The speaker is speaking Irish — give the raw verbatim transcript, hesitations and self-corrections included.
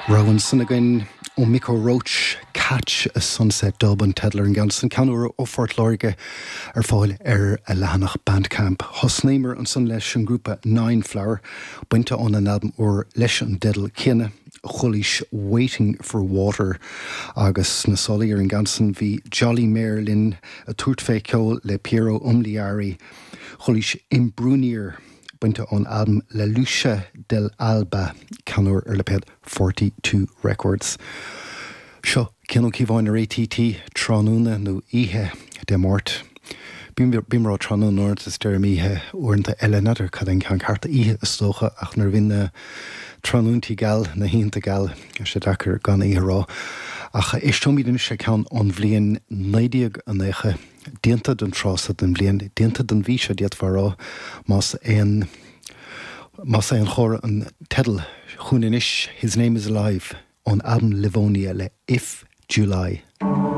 Rogha ansan againn ó Micko Roach Catch a Sunset Dub an teideal ar an gceann san ceann úr ó Phort Láirge ar fáil ar a leathanach Bandcamp. Thosnaíomar ansan leis an grúpa Nine Flower, bainte ón an albam úr leis an dteideal céanna chualaís Waiting for Water agus na sálaí ar an gceann san bhí Jolly Mayor linn ag tabhairt fé ceol le Piero Umiliani, chualaís Imbrunir bainte ón albam La Luce dell'Alba ceann úr ar lipéad Forty Two Records. Seo Cian Ó Cíobháin ar ATT tráthnóna nó oíche Dé Máirt. Bím ag rá tráthnóna uaireanta is deirim oíche uaireanta eile n'fheadar cad é an ceann ceart oíche is dócha ach nuair a bhíonn na tráthnóntaí geal na hoícheanta geal tá sé deacair gan oíche a rá. Ach éisteoimid anois le ceann ón bhliain naoi déag nócha déanta don tráth seo den bhliain, déanta don mhí seo d'fhéadfá a rá más aon más aon chomhartha an teideal chugainn anois His Name is Alive ón albam Livonia le If July.